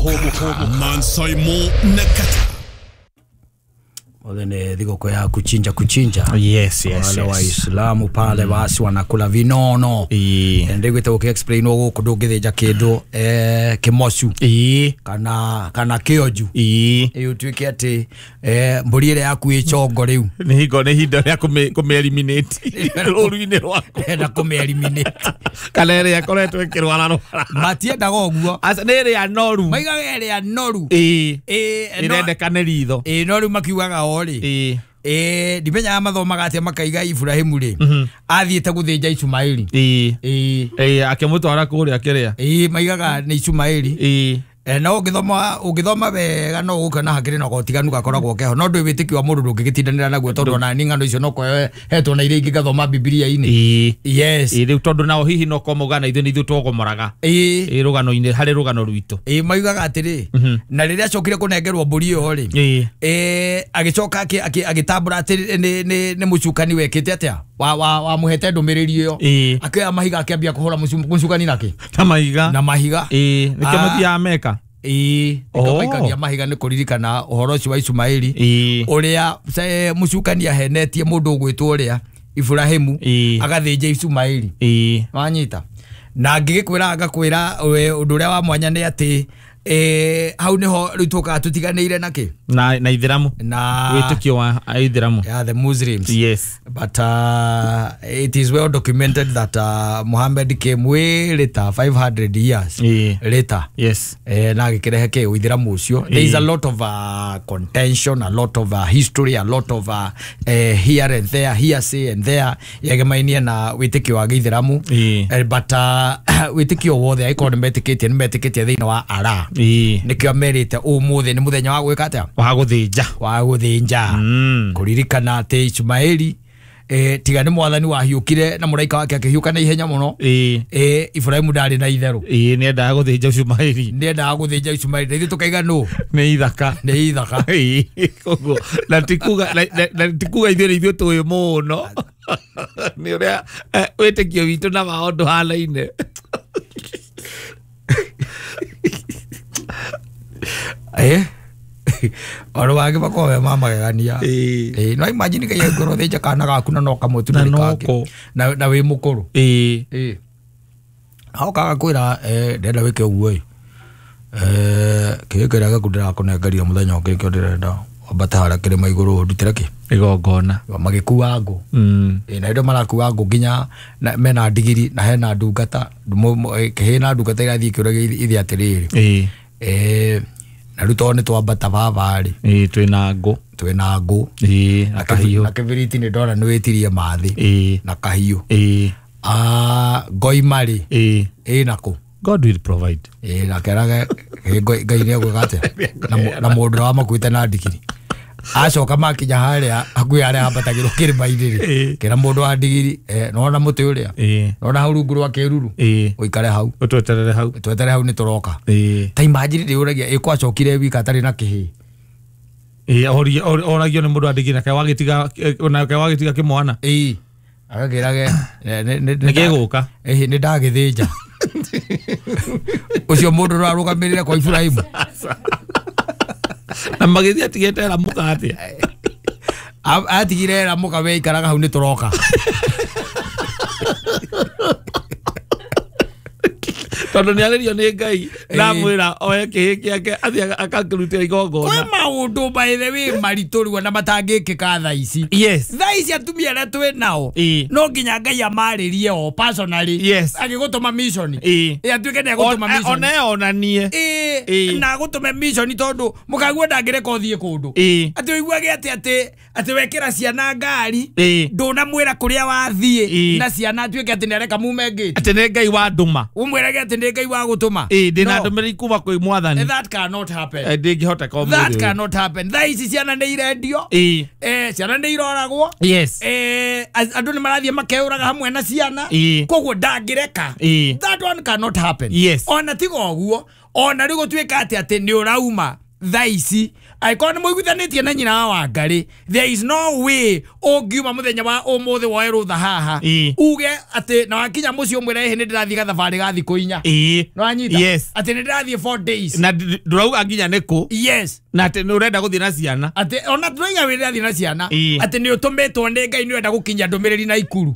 Hũgũka Mansaimo na Kata. Othe thigũkũ ya kuchinja kuchinja. Yes, yes, wale yes. Waislamu pale basi wanakula vinono. Ndiguite gũkĩ-explain gũkũ ndũngĩthĩnja kĩndũ kĩmocu kana kĩonju. Ĩ ũtuĩke atĩ mbũri ĩrĩa yaku ĩ chongo rĩu nĩ hingo nĩ ihinda rĩa kũmĩ-eliminate rũru-inĩ rwaku. Enda kũmĩ-eliminate kana ĩrĩa ĩkoretwo ĩkĩrwara rwara. Matiendaga ũguo. Aca nĩ ĩrĩa noru. Maigaga ĩrĩa noru. Ĩrendeka nĩ ritho. No rĩu makiugaga o rĩ. Ndimenyaga mathomaga atĩa makaiga Ibrahimu rĩ athiĩte gũthĩnja Ishumaeli. Akĩmũtwara kũrĩa kĩrĩa. Maigaga nĩ Ishumaeli. No ũngĩthoma wega no ũgũkĩona hakĩrĩ na gotiganu gakoragwo keho no ndũĩ wĩtĩkio wa mũndũ ndũngĩgĩtindanĩra naguo tondũ ona ni ng'ano icio no hetwo na iria ingĩ ngathoma Bibilia-inĩ. Yes. Rĩu tondũ nao hihi no korwo maugaga na ithuĩ nĩ ithuĩ twogomoraga. Rũgano-inĩ harĩ rũgano rwitũ. Maugaga atĩrĩ na rĩrĩa acokire kũnengerwo mbũri ĩyo rĩ agĩcoka agĩtambũra atĩ nĩ mũcukani wekĩte atĩa wamũhete ndũmĩrĩri ĩyo akĩoya mahiga akĩambia kũhũra mũcukani nakĩ na mahiga na mahiga. Nĩkĩo mathiaga Meka. Nĩkĩo maikagia mahiga nĩ kũririkana ũhoro ũcio wa Ishumaeli ũrĩa mũcukani ahenetie mũndũ ũgwĩtwo ũrĩa Ibrahimu agathĩnja Ishumaeli. Wanyita na ngĩgĩkwĩra ngakwĩra ũndũ ũrĩa wa mwanya nĩ atĩ hau nĩho rĩu tũkaga tũtiganĩire nakĩ na Ithiramu na wĩtĩkio wa Ithiramu. Yeah, the Muslims. Yes. But it is well documented that Muhammad came way later, 500 years later. Yes. Na agĩkĩrehe kĩ Ũithiramu ũcio. There is a lot of contention, a lot of history, a lot of here and there, hearsay and there yegemainie na wĩtĩkio wa gĩithiramu. But wĩtĩkio wothe angĩkorwo nĩ metĩkĩtie thĩinĩ wa Allah. Nĩkĩo merĩte ũmũthĩ nĩ mũthenya wa gwĩka atĩa? Wa gũthĩnja. Wa gũthĩnja. Kũririkana atĩ Ishumaeli tiga nĩ mwathani wahiũkire na mũraika wake akĩhiũka na ihenya mũno. Ibrahimu ndarĩ na itherũ. Nĩendaga gũthĩnja Ishumaeli. Nĩendaga gũthĩnja Ishumaeli. Na ithuĩ tũkaiga nũ? Nĩ ithaka. Nĩ ithaka. Koguo na ti kuga ithuĩ nĩ ithuĩ tũĩ mũno. Nĩ ũrĩa wĩtĩkio witũ na wao ndũhanaine. Oro wangĩ makoragwo me ma magegania. No imagine ngai angĩkorwo thĩnja kana gaku na no kamwe tu Na ndũrĩ no kangĩ. ko. Na wĩ mũkũrũ. Aokaga kwĩra ndĩrenda wĩke ũguo ĩ. Kĩrĩa kĩrĩa gĩaku ndĩrakũnengeria mũthenya ũngĩ nĩkĩo ndĩrenda wambate harĩa kĩrĩma igũrũ ũndutĩre kĩ? Igongona. Magĩkua ngũ. Na hĩndĩ marakua ngũ nginya mena ndigiri na hena ndungata hena ndungata irathiĩ ikĩũragia ithe atĩrĩrĩ. Na rĩu tondũ nĩ twambata baba rĩ. Twĩna ngũ. Twĩna ngũ. Na kahiũ. Na kĩbiriti nĩ ndona nĩ wĩtirie mathĩ. Na kahiũ. Ngoima rĩ. Ĩna kũ? God will provide. Na kerage Ngai nĩ egwĩka atĩa? Na mũndũ ũrĩa wamakuĩte na ndigiri. Acoka makinya harĩa hakuhĩ harĩa hambatagĩrwo kĩrĩma-inĩ rĩ. Kĩra mũndũ wa ndigiri nĩwona mũtĩ ũrĩa? Nĩwona hau rungu rwa kĩruru? Ũikare hau. Ũtweterere hau. Tweterere hau nĩtũroka. Ta imagine ndĩũragia ĩ kwacokire wika atarĩ na kĩhĩĩ. Oragio nĩ mũndũ wa ndigiri nake wagĩtiga kĩmwana. Agakĩrage nĩ gĩgũka. Nĩ ndagĩthĩnja. Ũcio mũndũ ũrarũgamĩrĩre kwa Ibrahimu. Na magĩthiĩ atigĩte Ramuka atĩa? Atigire Ramuka we ikaraga hau nĩ tũroka. Tondũ nĩ arĩrio nĩ Ngai na amwĩra oe kĩhĩĩ kĩake athiĩ akakĩrutĩra igongona. Kwĩ maũndũ by the way maritũ rĩu ona matangĩkĩka thaa ici. Yes. Thaa ici atumia arĩa twĩ nao no nginya Ngai amarĩrie o personally. Yes. Agĩgũtũma mission. Atuĩke nĩ agũtũma mission. One onanie. Na agũtũme mission tondũ mũkaguo ndangĩreka ũthiĩ kũndũ. Atĩ ũiguage atĩ wekĩra ciana ngari ndũnamwĩra kũrĩa wathiĩ na ciana atuĩke atĩ nĩareka mume ngĩti. Atĩ nĩ Ngai wandũma. Ũmwĩrage atĩ nĩ Ngai wa gũtũma. Ndĩna ndũmĩrĩri kuma kwĩ mwathani. That cannot happen. Ndĩngĩhoteka ũmũthĩ. That cannot happen. Thaa ici ciana nĩ irendio. Ciana nĩ iroragwo. Yes. Andũ nĩ marathiĩ makeũraga hamwe na ciana. Koguo ndangĩreka. That one cannot happen. Yes. Ona tiga ũguo, ona rĩu gũtuĩka atĩ nĩ ũrauma thaa ici angĩkorwo nĩ mũiguithanĩtie na nyina wa Wangari, there is no way ũngiuma mũthenya wa ũmũthĩ woe rũtha haha uge atĩ na wakinya mũciĩ ũmwĩre ĩhĩ nĩ ndĩrathiĩ gathabarĩ ga thikũ 4. Nĩwanyita? Yes. Atĩ nĩ ndĩrathiĩ 4 days. Na ndũrauga nginya nĩ kũ. Yes. Na atĩ nĩ ũrenda gũthiĩ na ciana. Atĩ ona ndũrauga wĩ ndĩrathiĩ na ciana. Atĩ nĩ ũtũmĩtwo nĩ Ngai nĩ ũrenda gũkinyia ndũmĩrĩri na Ikuru.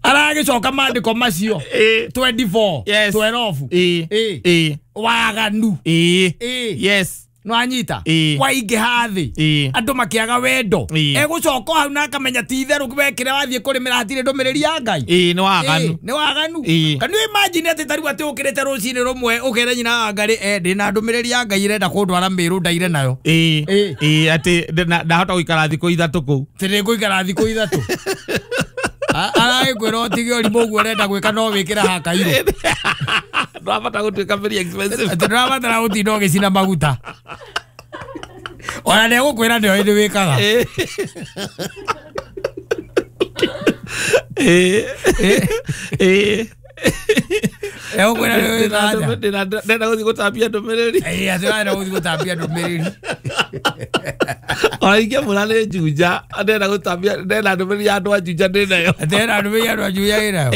Aragĩcoka maandĩko macio 24 Yes. 12. Waganu. Yes. Nĩwanyita? Waingĩha thĩ. Andũ makĩaga wendo. Egũcoka hau na akamenya ti itherũ wekĩra wathiĩ kũrĩmĩra hatirĩ ndũmĩrĩri ya Ngai. Nĩ waganu. Nĩ waganu. Can you imagine atĩ ta rĩu atĩ ũkĩrĩte rũcinĩ rũmwe ũkere nyina wa Ngai ndĩna ndũmĩrĩri ya Ngai ĩrenda kũndwara Mĩrũ ndaire nayo. Atĩ ndahota gũikara thikũ 3 kũu. Atĩ nĩngũikara thikũ 3. Aragĩkwĩra ũtige ũrimũ ũguo ũrenda gwĩka no wĩkĩre hakairũ. Ndũrabatara gũtuĩka very expensive. Atĩ ndũrabatara gũtinda ũgĩcina maguta. Ona nĩegũkwĩra nĩoĩ nĩ wĩkaga. Egũkwĩra nĩ wĩkaga atĩa? Ndĩrenda gũthiĩ gũtambia ndũmĩrĩri. Atĩ ũrenda gũthiĩ gũtambia ndũmĩrĩri. Ona ingĩamũra nĩ Juja, ndĩrenda gũtambia, ndĩrenda ndũmĩrĩri ya andũ a Juja ndĩnayo. Atĩ ena ndũmĩrĩri ya andũ a Juja ĩnayo?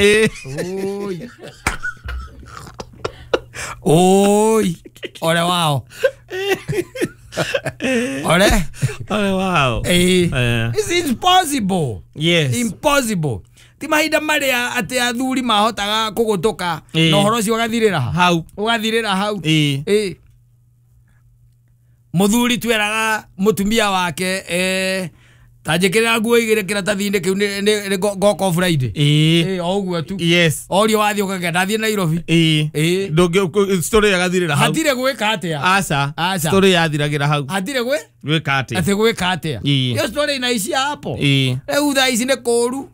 Oi. Ole wao. Ole? Ole wao. It's impossible. Yes. Impossible. Ti mahinda marĩa atĩ athuri mahotaga kũgũtũka na ũhoro ũcio ũgathirĩra hau. Ũgathirĩra hau. Mũthuri tweraga mũtumia wake ta njĩkĩrĩra nguo igĩrĩ kĩratathi-inĩ kĩu nĩ ngoka Friday. O ũguo tu. Yes. Orio wathiĩ ũkagenda ndathiĩ Nairobi. Ndũngĩ story yagathirĩra hau. Hatirĩ gwĩka atĩa. Aca. Story yathiragĩra hau. Hatirĩ gwĩka atĩa. Atĩ gwĩka atĩa. Iyo story inaishia hapo. Rĩu thaa ici nĩ kũũru.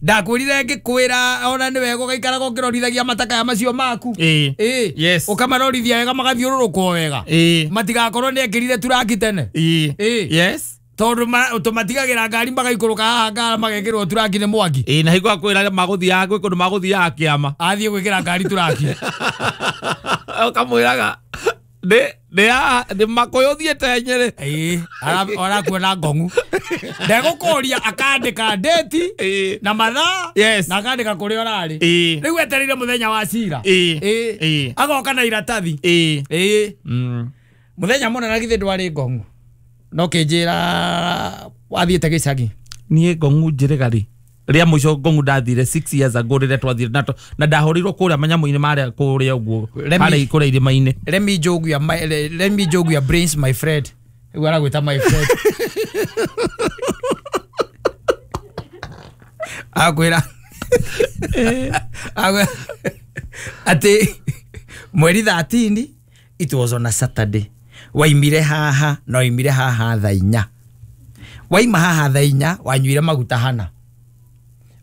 Ndakwĩrire ngĩkwĩra ona nĩ wega ũgaikaraga ũkĩrorithagia matakaya macio maku. Yes. Ũkamarorithia wega magathiũrũrũkwo wega. Matigakorwo nĩ ekĩrire turaki tene. Yes. Tondũ tũmatigagĩra ngari magaikũrũka haha ngara magekĩrwo turaki nĩ Mwangi. Na hingo akwĩra magũthiaga gwĩ kũndũ magũthiaga kĩama. Athiĩ gwĩkĩra ngari turaki. Ũkamwĩraga nĩ Makũyũ thiĩte Nyĩrĩ. Arakuona ngong'u. Ndegũkũria akandĩka date na mathaa na akandĩka kũrĩa ũrarĩ. Rĩu etereire mũthenya wa cira. Agoka na iratathi. Mũthenya mũna na githĩ ndwarĩ ngong'u. No kĩnjĩra wathiĩte gĩcagi. Niĩ ngong'u njĩrĩga rĩ rĩa mũico ngong'u ndathire 6 years ago rĩrĩa twathire na ndahũrĩirwo kũrĩa manyamũ-inĩ marĩa kũrĩa ũguo harĩa kũrĩa irĩma-inĩ. Let me jog your brains my friend. Rĩu aragwĩta my friend. Akwĩra atĩ mweri 13 it was on a Saturday. Waimire haha na waimire haha thaa 4. Waima haha thaa 4 wanyuire maguta hana.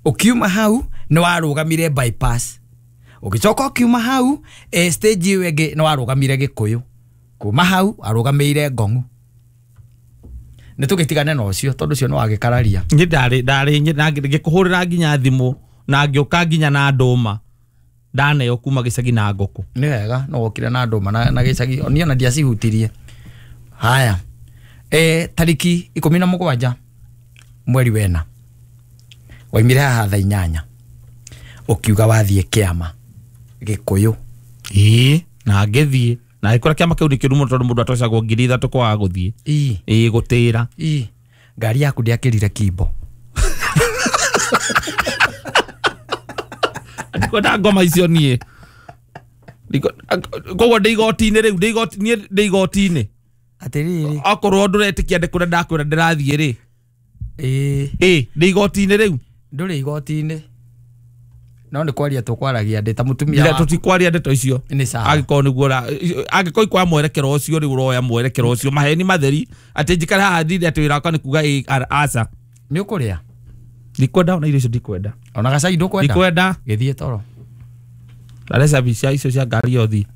Ũkiuma hau nĩ warũgamire bypass. Ũgĩcoka ũkiuma hau stage ĩyo ĩngĩ nĩ warũgamire Gĩkũyũ. Kuma hau arũgamĩire Ngong'u. Nĩ tũgĩtigane na ũcio tondũ ũcio nĩ wagĩkararia. Niĩ ndarĩ ngĩkũhũrĩra nginya thimũ na ngĩũka nginya na ndũma. Ndaneo kuma gĩcagi na ngũkũ. Nĩ wega no wokire na ndũma na gĩcagi niĩ ona ndiacihutirie. Haya. Tariki 17 mweri wena. Waimire haha thaa 8. Ũkiuga wathiĩ kĩama Gĩkũyũ. Na ngĩthiĩ. Na gĩkora kĩama kĩu nĩ kĩũru mũno tondũ mũndũ atocagwo 3,000 kwaga gũthiĩ. Gũtĩra. Ngari yaku ndĩakĩrire kimbo. Ndikwenda ngoma icio niĩ. Koguo ndĩ igoti-inĩ rĩu, niĩ ndĩ igoti-inĩ. Atĩrĩrĩ. Okorwo ndũretĩkia ndĩ kũrĩa ndakwĩra ndĩrathiĩ rĩ. Ndĩ igoti-inĩ rĩu. Ndũrĩ igoti-inĩ. No nĩ kwaria tũkwaragia ndĩ ta mũtumia wa. Tũtikwaria ndeto icio. Nĩ sawa. Angĩkorwo nĩguo angĩkorwo ikwa mwerekero ũcio rĩu ũroya mwerekero ũcio maheni matheri atĩ njikare haha ndinde atĩ wĩra wakwa nĩ kuga aca. Nĩ ũkũrĩa? Ndikwenda ona irio icio ndikwenda. Ona gacai ndũkwenda? Ndikwenda. Gĩthiĩ toro. Ndare cabi cia icio cia ngari yothe.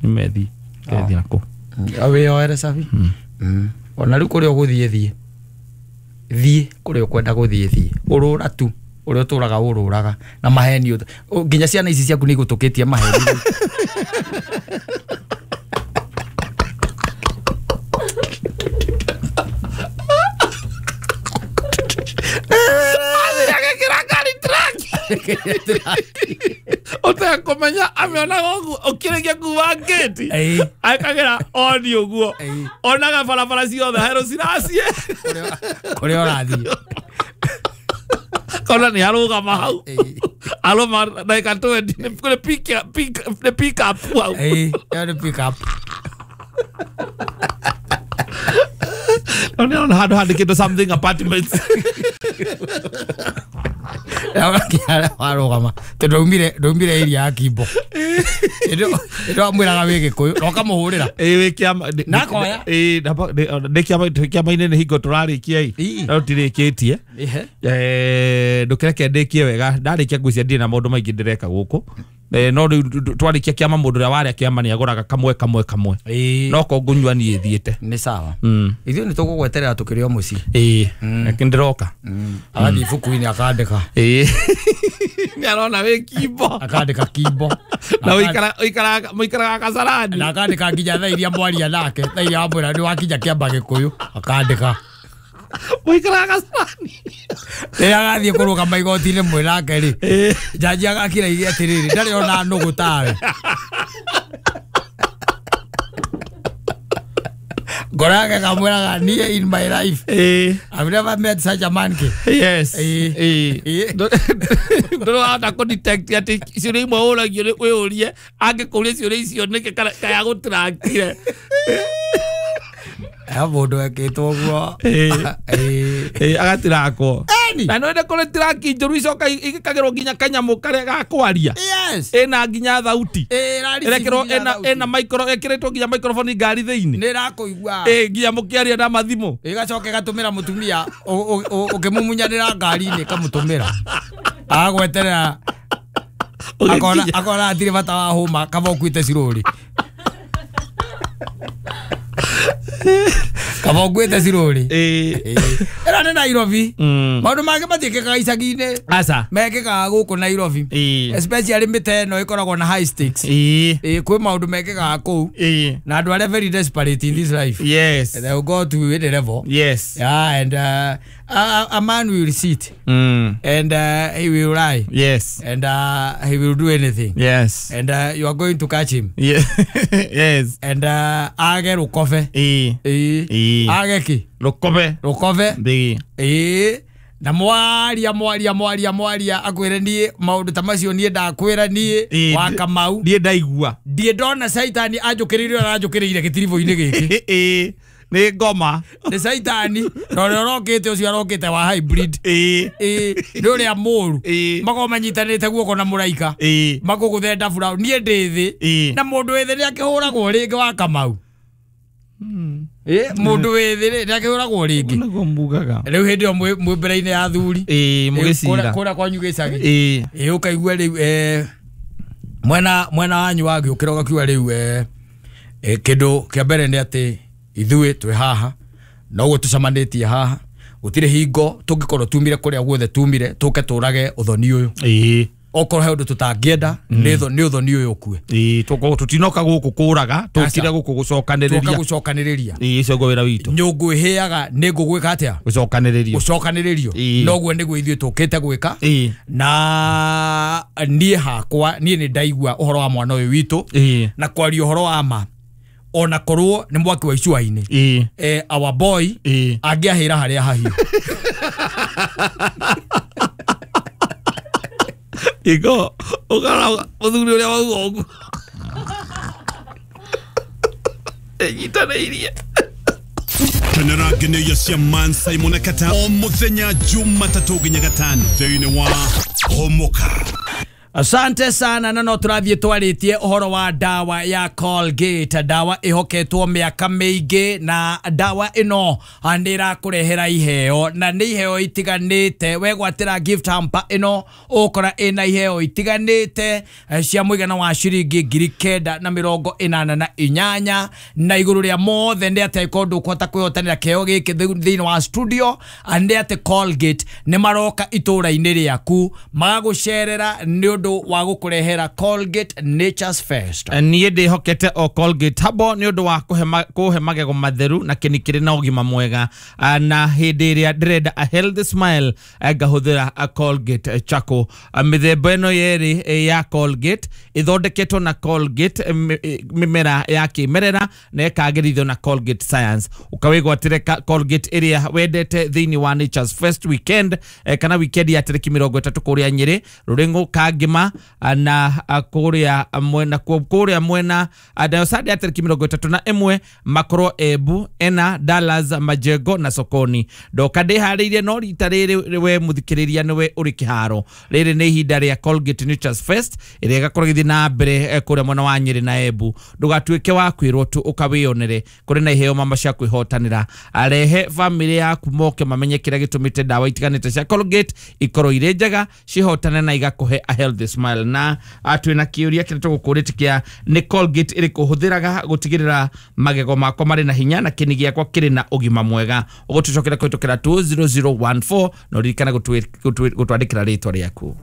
Nĩmethiĩ. Ngethiĩ nako. Wĩyoere cabi. Ona rĩu kũrĩa ũgũthiĩ thiĩ. Thiĩ kũrĩa ũkwenda gũthiĩ thiĩ. Ũrũra tu. Ũrĩa ũtũraga ũrũraga na maheni nginya ciana ici ciaku nĩ igũtũkĩtie maheni. Ũtekũmenya amĩonaga ũguo ũkĩrĩkia kuma ngĩti akagera oni ũguo onaga barabara ciothe herũ ciracie kũrĩa ũrathiĩ kona nĩ arũgama hau arũma ndagĩka 20 nĩ pick up hau. Ĩyo nĩ pick up. No nĩ arona handũ handĩkĩtwo something apartments. Warũgama tondũ ndaumire area ya Kimbo ĩndĩ wamwĩraga wĩ Gĩkũyũ na ũkamũhũrĩra na akoya. Ndĩ kĩama-inĩ nĩ hingo tũrarĩkia ĩ no tũtirĩkĩtie ndũkĩreke ndĩkie wega ndarĩkia ngwĩciria ndirĩ na maũndũ maingĩ ndĩreka gũkũ no rĩu twarĩkia kĩama mũndũ ũrĩa warĩa kĩama nĩ agũraga kamwe kamwe kamwe no ko ngũnyua niĩ thiĩte nĩ sawa. Ithuĩ nĩ tũgũgweterera tũkĩrĩ o mũciĩ. Ĩĩ ndĩroka agathiĩ ibuku-inĩ akandĩka. Ĩĩ nĩ arona wĩ Kimbo akandĩka Kimbo na ũikaraga Kasarani na akandĩka nginya thaa iria mwaria nake thaa iria wamwĩra nĩ wakinya Kĩamba Gĩkũyũ akandĩka mũikaraga Kasarani. Rĩrĩa agathiĩ kũrũgama igoti-inĩ mwĩ nake rĩ njanji agakira ige atĩrĩrĩ ndarĩ ona nũgũ tawe. Ngoro yake kamwĩraga niĩ in my life I've never met such a man ke. Yes. Ndũrĩ wahota kũ detect atĩ ciũria imwe ũragio wĩyũrie angĩkũria ciũria icio nĩkĩ kaya gũtirakire. Mũndũ ekĩtwo ũguo agatirakwo na nĩwende kũrĩ tiraki njũru icoka igĩkagĩrwo nginya kanyamũ karĩa ga kwaria ĩna nginya thauti ĩrekĩrwo ĩna micro ĩkĩrĩtwo nginya microphone ngari thĩinĩ nĩ ĩrakũigua nginya mũkĩaria na mathimũ ĩgacoka ĩgatũmĩra mũtumia ũkĩmũmunyanĩra ngari-inĩ ĩkamũtũmĩra agagweterera akona hatirĩ bata wa hũma kaba ũkuĩte cirũrĩ kaba ũkuĩte cirũrĩ. Ĩno nĩ Nairobi. Maũndũ mangĩ matiĩkĩkaga icagi-inĩ mekĩkaga gũkũ Nairobi especially mĩte ĩno ĩkoragwo na high stakes. Kwĩ maũndũ mekĩkaga kũu na andũ arĩa very desperate in this life. Yes. They will go to any level. Yes. Yeah, and a man will sit and he will lie. Yes. And he will do anything. Yes. And you are going to catch him. Yeah. Yes. And age rũkobe. Age ki? Rũkobe. Rũkobe. Na mwaria mwaria mwaria mwaria akwĩre niĩ maũndũ ta macio niĩ ndakwĩra niĩ wa Kamau niĩ ndaigua ndiĩ ndona caitani anjũkĩrĩire ũrĩa aranjũkĩrĩire gĩtiribũ-inĩ gĩkĩ. Nĩ ngoma nĩ caitani na ũrĩa ũrokĩte ũcio arokĩte wa hybrid nĩ ũrĩa mũru makorwo manyitanĩte guoko na mũraika makũgũthe ndabura niĩ ndĩ thĩ na mũndũ wĩ thĩ nĩ akĩhũragwo rĩngĩ wa Kamau. Mũndũ wĩ thĩ rĩ nĩ akĩhũragwo rĩngĩ nĩguo mugaga rĩu hĩndĩ ĩyo mwĩ mbere-inĩ ya athuri mũgĩcira kũrĩa kwanyu gĩcagi ũkaigua rĩu mwena wanyu wagĩũkĩra ũgakiuga rĩu kĩndũ kĩa mbere nĩ atĩ ithuĩ twĩ haha noguo tũcemanĩtie haha gũtirĩ hingo tũngĩkorwo tumire kũrĩa guothe tumire tũke tũrage ũthoni ũyũ okorwo he ũndũ tũtangĩenda nĩ ũthoni ũyũ ũkue. Tũtinoka gũkũ kũraga tũkire gũkũ gũcokanĩrĩria tũka gũcokanĩrĩria ũcio guo wĩra witũ nyũngũ ĩhĩaga nĩ ngũgwĩka atĩa gũcokanĩrĩrio gũcokanĩrĩrio noguo nĩguo ithuĩ tũkĩte gwĩka na niĩ hakwa niĩ nĩ ndaigua ũhoro wa mwana ũyũ witũ na kwaria ũhoro wa ma ona korwo nĩ mwaki wa icua-inĩ our boy angĩahĩra harĩa hahiũ. Igo ũkara mũthuri ũrĩa wauga ũguo ĩnyitanĩirie. Kenera ngeneia cia Man Simon Kata o mũthenya Jumatatũ nginya Gatano thĩinĩ wa Homoka. Asante sana na no tũrathiĩ twarĩtie ũhoro wa dawa ya Colgate, dawa ĩhoketwo mĩaka mĩingĩ na dawa ĩno nĩ ĩrakũrehera iheo na nĩ iheo itiganĩte. Wegwatĩra gift hamper ĩno ũkora ĩna iheo itiganĩte cia mũigana wa ciringi 988 na igũrũ rĩa mothe nĩ atĩ angĩkorwo ndũkũhota kwĩhotanĩra kĩheo gĩkĩ thĩinĩ wa studio nĩ atĩ Colgate nĩ maroka itũũra-inĩ rĩaku magagũcerera nĩ ũndũ wa gũkũrehera Colgate Nature's First. Niĩ ndĩhokete o Colgate habo nĩ ũndũ wa kũhe magego matheru na kĩni kĩrĩ na ũgima mwega, na hĩndĩ ĩrĩa ndĩrenda a healthy smile ngahũthĩra Colgate Charcoal. Mĩthemba ĩno yerĩ ya Colgate ĩthondeketwo na Colgate mĩmera ya kĩmerera na ĩkagĩrithio na Colgate Science. Ũkawĩgwatĩre Colgate ĩrĩa wendete thĩinĩ wa Nature's First weekend kana weekend ya tarĩki 30 kũrĩa Nyĩrĩ, Rũrĩng'ũ, Kangĩma na kũrĩa mwena kũrĩa mwena nayo Sunday ya tarĩki 31 makorwo Embu, Ena, Dallas, Majengo na Sokoni. Ndoka ndĩharĩirie no rita rĩrĩ we mũthikĩrĩria nĩwe ũrĩ kĩharo. Rĩrĩ nĩ ihinda rĩa Colgate Nature's Fest ĩrĩa ĩgakorwo ĩgĩthiĩ na mbere kũrĩa mwena wa Nyĩrĩ na Embu. Ndũgatuĩke wa kwĩrwo tu ũkawĩyonere, kũrĩ na iheo mama cia kwĩhotanĩra. Arehe bamĩrĩ yaku moke mamenye kĩrĩa gĩtũmĩte ndawa itiganĩte cia Colgate ikorwo irĩ njega cihotane na igakũhe a healthy smile. Na twĩna kĩũria kĩrĩa tũgũkũrĩtie kĩa nĩ Colgate ĩrĩkũ hũthĩraga gũtigĩrĩra magego makwa marĩ na hinya na kĩni gĩakwa kĩrĩ na ũgima mwega. Ũgũtũcokera kũhĩtũkĩra 20014 na ũririkane gũtwandĩkĩra rĩtwa rĩaku.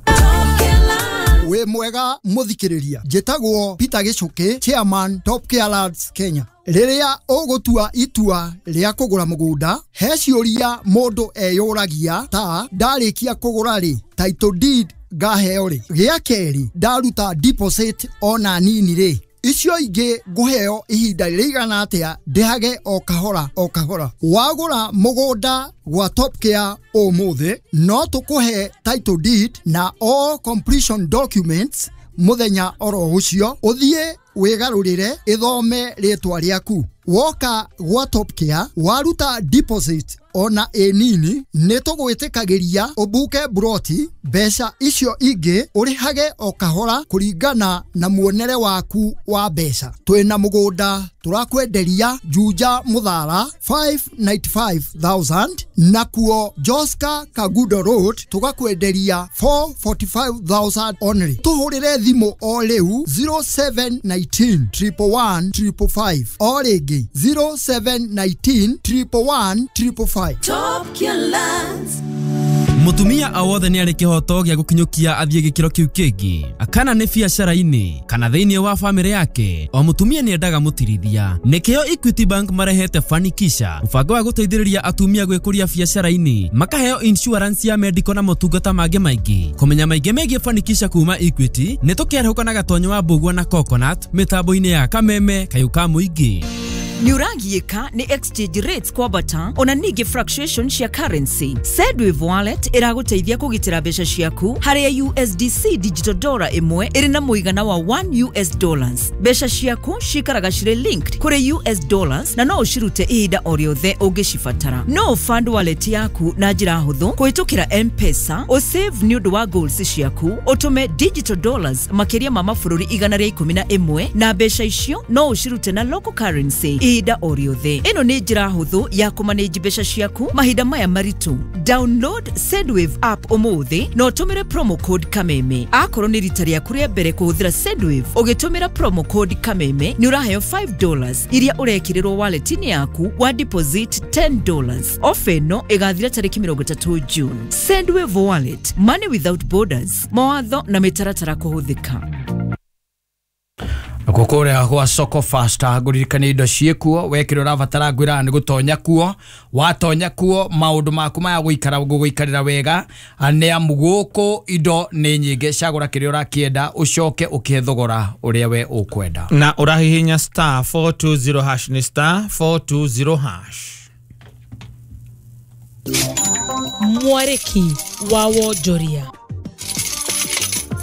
Wĩ mwega mũthikĩrĩria, njĩtagwo Peter Gĩcũkĩ, chairman Top Care Lads Kenya. Rĩrĩa ũgũtua itua rĩa kũgũra mũgũnda, he ciũria mũndũ eyũragia ta ndarĩkia kũgũra rĩ, title deed ngaheo rĩ, gĩa kerĩ ndaruta deposit ona nini rĩ, icio ingĩ ngũheo ihinda rĩigana atĩa ndĩhage o kahora o kahora. Wagũra mũgũnda gwa Top Care ũmũthĩ no tũkũhe title deed na all completion documents mũthenya oro ũcio, ũthiĩ wĩgarũrĩre ĩthome rĩtwa rĩaku. Woka gwa Top Care waruta deposit ona ĩ nini nĩ tũgwĩtĩkagĩria ũbuke buroti, mbeca icio ingĩ ũrĩhage o kahora kũringana na muonere waku wa mbeca. Twĩna mũgũnda tũrakwenderia Juja Mũthara 595,000 nakuo Joska Kagudo Road tũgakwenderia 445,000 only. Tũhũrĩre thimũ o rĩu 0719 111 555 o rĩngĩ 0719 111 555. Top Care Lands. Mutumia o wothe nĩ arĩ kĩhoto gĩa gũkinyũkia athiĩ gĩkĩro kĩu kĩngĩ, kana nĩ biacara-inĩ kana thĩinĩ wa bamĩrĩ yake. O mutumia nĩ endaga mũtirithia. Nĩkĩo Equity Bank marehete Fanikisha, mũbango wa gũteithĩrĩria atumia gwĩkũria biacara-inĩ, makaheo insurance ya medical na motungata mangĩ maingĩ. Kũmenya maingĩ megiĩ Fanikisha kuma Equity nĩ tũkĩarahũka na Gatonyo wa Mbũgua na Coconut mĩtambo-inĩ ya Kameme Kayũ ka Mũingĩ. Nĩũragiĩka nĩ exchange rates kwambata ona ningĩ fluctuation cia currency. Sendwave Wallet ĩragũteithia kũgitĩra mbeca ciaku harĩa USDC digital dollar ĩmwe ĩrĩ na mũigana wa 1 US dollars. Mbeca ciaku cikaraga cirĩ linked kũrĩ US dollars na no ũcirute ihinda o rĩothe ũngĩcibatara. No fund wallet yaku na njĩra hũthũ kũhĩtũkĩra M-Pesa, ũsave nĩ ũndũ wa goals ciaku, ũtũme digital dollars makĩria ma mabũrũri 111 na mbeca icio no ũcirute na local currency ihinda o rĩothe. Ĩno nĩ njĩra hũthũ ya kũmanage mbeca ciaku mahinda maya maritũ. Download Sendwave app ũmũthĩ na ũtũmĩre promo code Kameme. Akorwo nĩ rita rĩaku rĩa mbere kũhũthĩra Sendwave, ũgĩtũmĩra promo code Kameme nĩ ũraheo $5 iria ũrekĩrĩrwo wallet-inĩ yaku wa deposit $10. Ofa ĩno ĩgathira tarĩki 30 June. Sendwave Wallet, money without borders. Mawatho na mĩtaratara kũhũthĩka. Kũrĩa gwa Soko Fasta ngũririkania indo ciĩkuo wekĩra ũrabatara ngwĩraga nĩ gũtonya kuo, watonya kuo maũndũ maku maya gũikara gũgũikarĩra wega nĩ amu gũkũ indo nĩ nyingĩ, cagũra kĩrĩa ũrakĩenda ũcoke ũkĩhe thogora ũrĩa we ũkwenda. Na ũrahihinya star 420 hash nĩ star 420 hash. Mwarĩki wa wonjoria.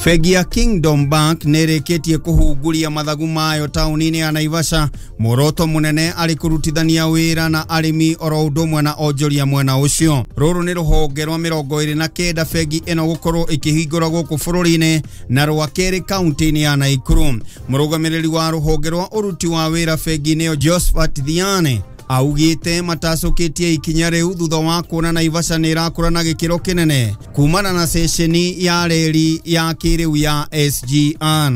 Bengi ya Kingdom Bank nĩrĩkĩtie kũhunguria mathagu mayo taũni-inĩ ya Naivasha, muoroto mũnene arĩ kũrutithania wĩra na arĩmi oro ũndũ ũmwe na onjoria mwena ũcio. Rũrũ nĩ rũhonge rwa 29 bengi ĩno gũkorwo ĩkĩhingũra gũkũ bũrũri-inĩ na rwa kerĩ kaunti-inĩ ya Naikuru. Mũrũgamĩrĩri wa rũhonge rwa ũruti wa wĩra bengi-inĩ ĩyo Josephat Thiane augĩte matacũkĩtie ikinya rĩu thutha wa kuona Naivasha nĩ ĩrakũra na gĩkĩro kĩnene kumana na ceceni ya reri ya kĩrĩu ya SGR.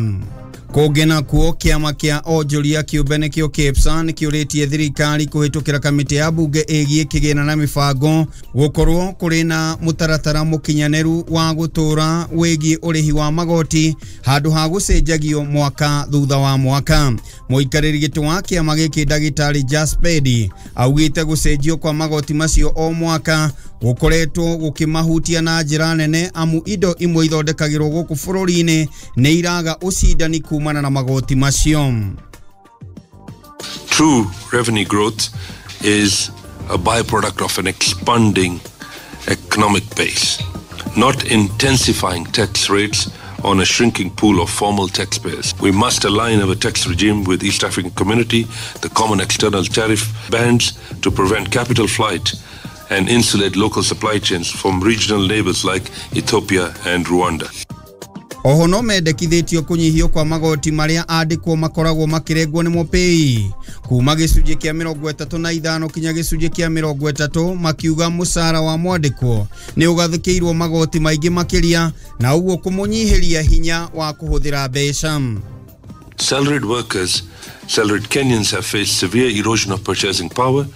Kũngĩ nakuo, kĩama kĩa onjoria kĩũmbe nĩkĩo KEPSA nĩkĩũrĩtie thirikari kũhĩtũkĩra kamĩtĩ ya mbunge ĩgiĩ kĩgĩna na mĩbango gũkorwo kũrĩ na mũtaratara mũkinyanĩru wa gũtũũra wĩgiĩ ũrĩhi wa magoti handũ ha gũcenjagio mwaka thutha wa mwaka. Mũikarĩri gĩtĩ wa kĩama gĩkĩ ndagĩtarĩ Jaspedi augĩte gũcenjio kwa magoti macio o mwaka gũkoretwo gũkĩmahutia na njĩra nene, amu indo imwe ithondekagĩrwo gũkũ bũrũri-inĩ nĩ iraga ũcindani kumana na magoti macio. True revenue growth is a byproduct of an expanding economic base, not intensifying tax rates on a shrinking pool of formal taxpayers. We must align our tax regime with East African Community, the common external tariff bands to prevent capital flight and insulate local supply chains from regional neighbors like Ethiopia and Rwanda. Oho no mendekithĩtio kũnyihio kwa magoti marĩa andĩkwo makoragwo makĩrengwo nĩ mũpĩi kuma gĩcunjĩ kĩa 35 kinya gĩcunjĩ kĩa 30, makiuga mũcara wa mwandĩkwo nĩ ũgathĩkĩirwo magoti maingĩ makĩria na ũguo kũmũnyihĩria hinya wa kũhũthĩra mbeca. Salaried workers, salaried Kenyans have faced severe erosion of purchasing power,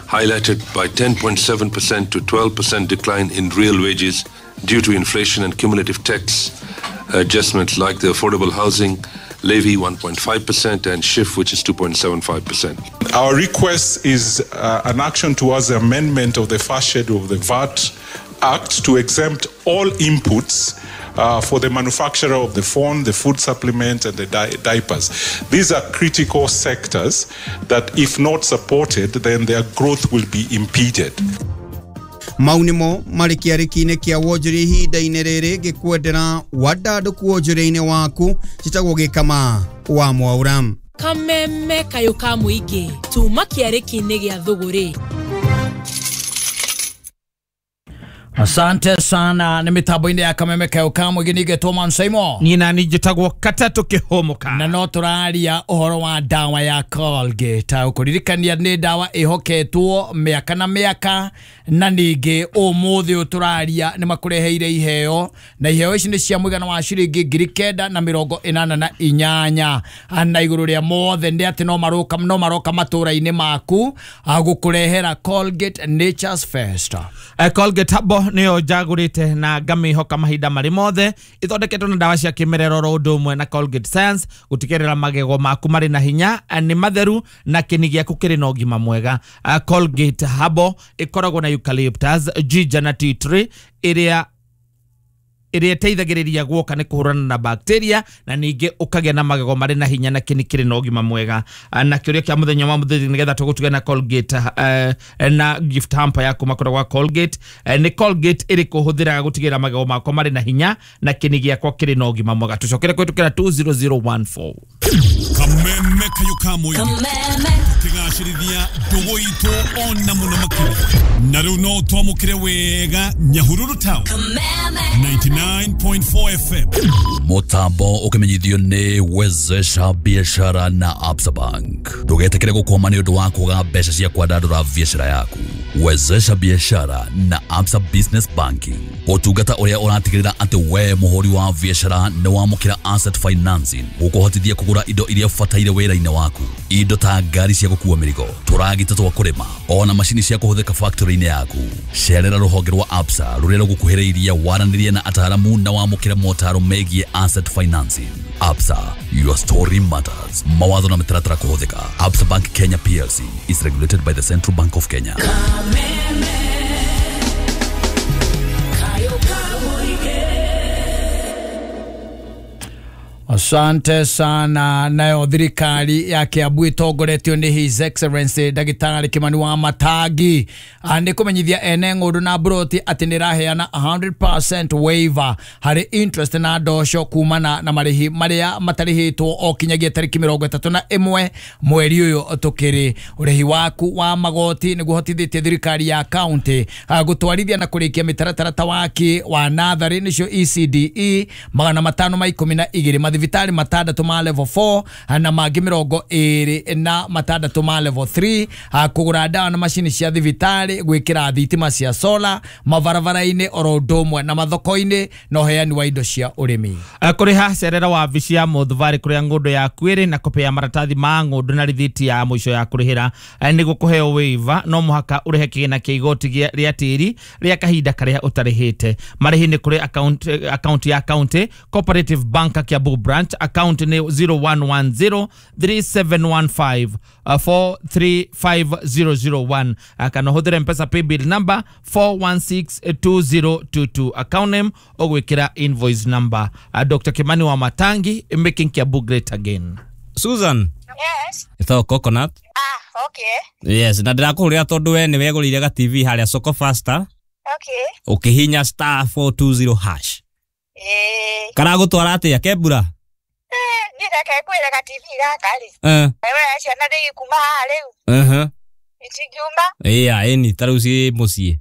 highlighted by 10.7% to 12% decline in real wages due to inflation and cumulative tax adjustments like the affordable housing levy 1.5% and SHIF, which is 2.75%. Our request is an action towards the amendment of the first schedule of the VAT Act to exempt all inputs for the manufacturer of the phone, the food supplement, and the diapers. These are critical sectors that, if not supported, then their growth will be impeded. Mau nĩmo marĩ kĩarĩki-inĩ kĩa wonjoria ihinda-inĩ rĩrĩ ngĩkwendera wandandũku wonjoria-inĩ waku njĩtagwo Gĩkama wa Mwaura. Kameme kayũ ka mũingĩ tuma kĩarĩki-inĩ gĩa thũgũrĩ. Asante sana nĩ mĩtambo-inĩ ya kameme kayũ ka mũingĩ ningĩtwo Mansaimo. Niĩ nani njĩtagwo Katatũ Kĩhũmũka. Na no tũraria ũhoro wa ndawa ya Colgate. Ũkũririkania nĩ ndawa ĩhoketwo mĩaka na mĩaka, na ningĩ ũmũthĩ ũyũ tũraria nĩ makũreheire iheo, na iheo ici nĩ cia mũigana wa ciringi 988 na igũrũ rĩa mothe nĩ atĩ no maroka matũra-inĩ maku gũkũrehera Colgate Nature's Fest. Colgate Herbal nĩyo njagũrĩte na ngamĩhoka mahinda marĩ mothe, ithondeketwo na ndawa cia kĩmerera oro ũndũ ũmwe na Colgate Science gũtigĩrĩra magego maku marĩ na hinya, nĩ matheru na kĩni gĩaku kĩrĩ na ũgima mwega. Colgate Herbal ĩkoragwo na eucalyptus, ginger na tea tree ĩrĩa ĩteithagĩrĩria guoka nĩ kũhũrana na bacteria na ningĩ ũkagĩa na magego marĩ na hinya na kĩni kĩrĩ na ũgima mwega. Na kĩũria kĩa mũthenya wa mũthenya nĩgetha tũgũtuge na Colgate na gift hamper yaku makũra gwa Colgate. Nĩ Colgate ĩrĩkũ hũthĩraga gũtigĩrĩra magego makwa marĩ na hinya na kĩni gĩakwa kĩrĩ na ũgima mwega? Tũcokere kũhĩtũkĩra 20014. Kameme kayũ ka mũingĩ tũkĩgacĩrithia ndũgũ itũ ona mũno makĩria, na rĩu no twamũkĩre wega Nyahururu Town 99.4 FM. Mutambo ukimenyithio ni Wezesha Biashara na Absa Bank. Ndugetikire gukwama ni undu wa kwaga mbeca cia kwandandura biashara yaku. Wezesha Biashara na Absa Business Banking, utungata uria uratigirira ati we muhuri wa biashara ni wamukira asset financing gukuhotithia kugura indo iria ubataire wira-ini waku, indo ta ngari cia gukua mirigo, turagita twa kurima, ona macini cia kuhuthika factory-ini yaku. Cerera ruhonge rwa Absa ruria rugukuhiriirie waranirie na ataramu na wamukire motaro megie asset financing. Absa, your story matters. Mawatho na mitaratara kuhuthika. Absa Bank Kenya PLC is regulated by the Central Bank of Kenya. Asante sana. Nayo thirikari ya Kiambu itongoretio ni His Excellency Ndagĩtarĩ Kimani wa Matangi nĩ kũmenyithia ene ng'ũndũ na mburoti atĩ nĩ ĩraheana 100% waiver harĩ interest na ndoco kumana na marĩhi marĩa matarĩhĩtwo o kinyagia tarĩki 31 mweri ũyũ tũkĩrĩ. Ũrĩhi waku wa magoti nĩguo hotithĩtie thirikari ya county gũtwarithia na kũrĩkia mĩtaratara ta waki wa natharĩ nĩcio ECDE 512 mathibitari 6 ma level 4 na mangĩ 26 ma level 3, kũgũra ndawa na macini cia thibitarĩ, gwĩkĩra thitima cia sola mabarabara-inĩ oro ũndũ ũmwe na mathoko-inĩ na ũheani wa indo cia ũrĩmi. Kũrĩha cerera wabici ya Mũthubarĩ kũrĩa ng'ũndũ yaku ĩrĩ na kopĩ ya maratathi ma ng'ũndũ na rithiti ya mũico ya kũrĩhĩra nĩguo kũheo waiver no mũhaka ũrĩhe kĩgĩna kĩa igoti rĩa tĩri rĩa kahinda karĩa ũtarĩhĩte. Marĩhi nĩ kũrĩ account ya county Cooperative Bank Kiambu branch, account nĩ 0110 3715 435001, kana ũhũthĩre Mpesa paybill number 4162022, account name ũgwĩkĩra invoice number. Dr. Kimani wa Matangi, making Kiambu great again. Susan. Yes. Ĩtagwo Coconut. Ah, okay. Yes, na ndĩrakũhũrĩra tondũ we nĩ wegũrĩire ga TV harĩa Soko Faster. Okay. Ũkĩhinya star 420 hash. Eh. Karagũtwara atĩa kembura? Niĩ reke ngwĩre ga TV gaka rĩ. We ciana ndĩgĩkuma haha rĩu. Itingiuma. Ĩya, ĩni ta rĩu ciĩ mũciĩ.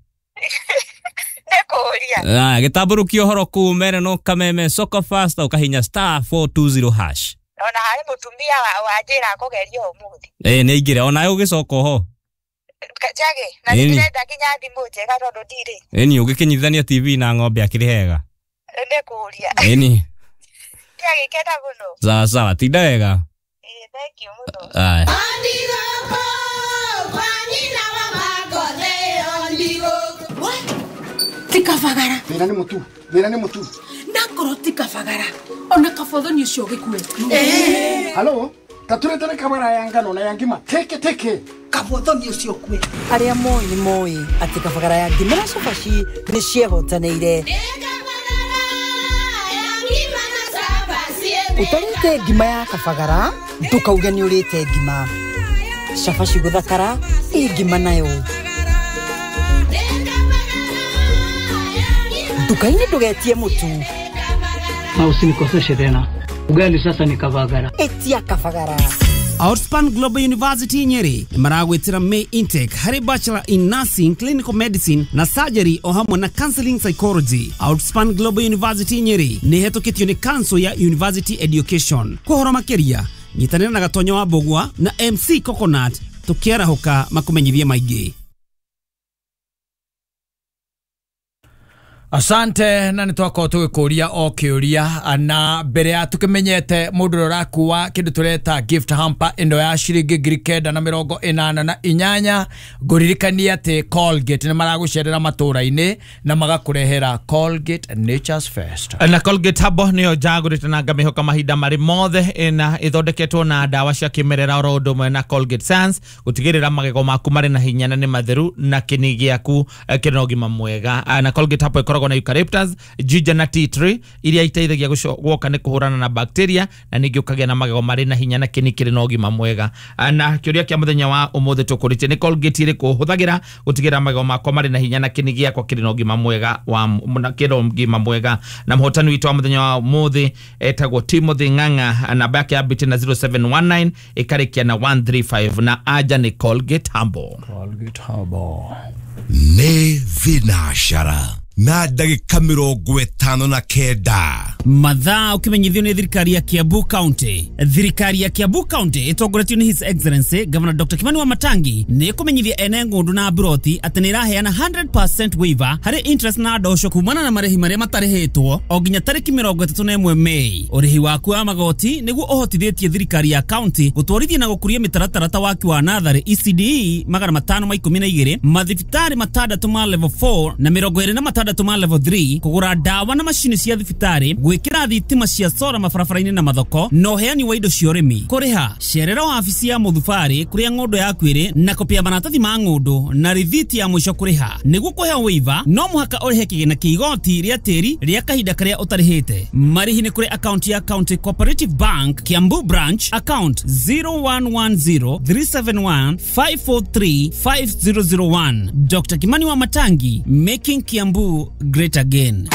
Nĩ kũũria. Gĩtambũrũkia ũhoro kũu mere no kameme Soko Faster ũkahinya star 420 hash. Ona harĩ mũtumia wanjĩra kũgeria ũmũthĩ. Nĩ aingĩre onawe ũgĩcoka oho. Njage, na nĩndĩrenda nginya thimũ njega tondũ ndirĩ. Ĩni ũgĩkĩnyitithania TV na ng'ombe akĩrĩ hega. Nĩ kũũria. Ĩni. Ndiagĩkena mũno. Sawa sawa, tinda wega. Thank you mũno. Aya. Tikabagara. Thĩna nĩ mũtu. Thĩna nĩ mũtu. Nakorwo tikabagara. Ona kabothoni ũcio ũgĩkue. Halo, taturetere kabara ya ngano na ya ngima. Teke teke. Kabothoni ũcio ũkue. Arĩa moĩ nĩ moĩ atĩ kabagara ya ngima na cabaci nĩ ciehotanĩire. Ũtarĩte ngima ya kabagara ndũkauge nĩ ũrĩte ngima. Cabaci gũthakara ĩ ngima nayo. Nduka-inĩ ndũgetie mũtu. Na usinikoseshe tena. Ugali sasa ni kabagara. Etia kabagara. Outspan Global University Nyeri maragwitira May intake harĩ Bachelor in Nursing, Clinical Medicine na Surgery o hamwe na Counseling Psychology. Outspan Global University Nyeri nĩ hetũkĩtio nĩ Council ya University Education. Kũhoro makĩria nyitanĩra na Gatonyo wa Mbũgua na MC Coconut tũkĩarahũka makũmenyithie maingĩ. Asante na nitwakorwo tũgĩkũria o kĩũria na mbere ya tũkĩmenyete mũndũ ũrĩa ũrakua kĩndũ tũreta gift hamper ĩno ya ciringi 988 ngũririkania atĩ Colgate nĩ maragũcerera matũra-inĩ na magakũrehera Colgate Nature's Fest. Na Colgate Habo nĩyo njagũrĩte na ngamĩhoka mahinda marĩ mothe na ĩthondeketwo na ndawa cia kĩmerera oro ũndũ ũmwe na Colgate Sans gũtigĩrĩra magego maku marĩ na hinya na nĩ matheru na kĩni gĩaku kĩrĩ na ũgima mwega. Na Colgate Habo ĩkoragwo na eucalyptus, ginger na tea tree iria iteithagia gwoka nĩ kũhũrana na bacteria na ningĩ ũkagĩa na magego marĩ na hinya na kĩni kĩrĩ na ũgima mwega. Na kĩũria kĩa mũthenya wa ũmũthĩ tũkũrĩtie nĩ Colgate ĩrĩkũ hũthagĩra gũtigĩrĩra magego makwa marĩ na hinya na kĩni gĩakwa kĩrĩ na ũgima mwega wa kĩrĩ ũgima mwega. Na mũhotani witũ wa mũthenya wa ũmũthĩ etagwo Timothy Ng'ang'a, namba yake yambĩtie na 0719 ĩkarĩkia na 135 na anja nĩ Colgate Humble. Colgate Humble. Nĩ thinacara na ndagĩka 59. Mathaa ũkĩmenyithio nĩ thirikari ya Kiambu County. Thirikari ya Kiambu County ĩtongoretio nĩ His Excellency Governor Dr. Kimani wa Matangi nĩ ĩkũmenyithia ene ng'ũndũ na mburoti atĩ nĩ ĩraheana 100% waiver harĩ interest na ndoco kumana na marĩhi marĩa matarĩhĩtwo o nginya tarĩki 31 Mei. Ũrĩhi waku wa magoti nĩguo ũhotithĩtie thirikari ya county gũtwarithia na gũkũria mĩtaratara ta waki wa natharĩ ECDE 512, mathibitarĩ 6 ma level 4 na 26 ma level 3, kũgũra ndawa na macini cia thibitarĩ, Gwĩkĩra thitima cia sora mabarabara-inĩ na mathoko na ũheani wa indo cia ũrĩmi. Kũrĩha cerera wabici ya mũthubarĩ kũrĩa ng'ũndũ yaku ĩrĩ na kopia maratathi ma ng'ũndũ na rithiti ya mũico kũrĩha. Nĩguo kũheo waiver no mũhaka ũrĩhe kĩgĩna kĩa igoti rĩa tĩri rĩa kahinda karĩa ũtarĩhĩte. Marĩhi nĩ kũrĩ akaunti ya County Cooperative Bank Kiambu Branch, account 01103715435001. Dr. Kimani wa Matangi, making Kiambu great again.